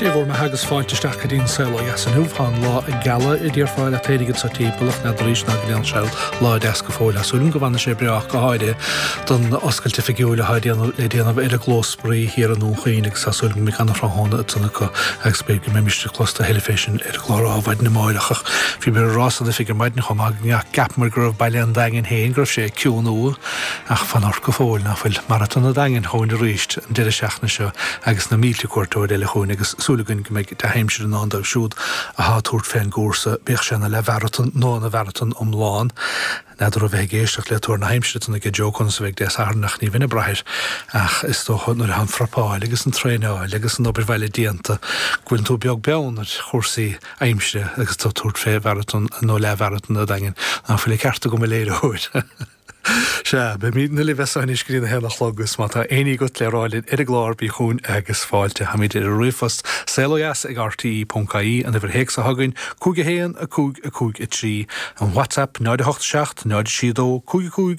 Sé bhur mbeatha agus fáilte isteach go dtí an Saol Ó Dheas inniu. Tá an lá ag gealadh a déarfá leat féinig anso timpeall ach n'fheadar arís ná go ndéanfaidh sé lá deas go fóill. Tá súil agam go bhfanfaidh sé breá ach go háirithe don oscailt oifigiúil atá le déanamh ar an gclós spraoi thiar i nDún Chaoin agus tá súil agam go mbeidh ana-thráthnóna ansan acu agus b'fhéidir go mbeimist ag clos a thuilleadh fé sin ar an gclár Adhmhaidin amáireach ach bhíomar ag rá san oifig ar maidin chomh maith go gceapamar go raibh baile an Daingin féin go raibh sé ag ciúnú Ach fan ort go fóill, ná fuil Maratón an Daingin chugainn arís an deireadh seachtaine seo agus na mílte cuairteoir eile chugainn agus súil againn go mbeidh dea-aimsir i ndán dóibh siúd athá ag tabhairt fén gcúrsa, bíodh sé ina leathmharatón nó ina mharatón iomlán. N'fheadar ó bheith ag éisteacht le tuar na haimsire ansan aige Joe conas a bheidh Dé Sathairn ach ní bheinn ag brath air ach is dócha nuair atá an phrepáil agus an traenáil agus an obair bhaile déanta go bhfuileann tú beag beann ar chúrsaí aimsire agus tú ag tabhairt fé mharatón nó leathmharatón an Daingin. Ná fuil an ceart agam a léiritheoir? Sea, beimidne libh as seo anois go dtí a haon a chlog agus má tá éinní agat le rá linn ar an gclár bí chugainn agus fáilte. Táimid ar an ríomhphost saolodheas ag rte.ie, an uimhir théacs atá againn 5 1 5 5 3, an WhatsApp 0 8 7 0 6 2 5 5.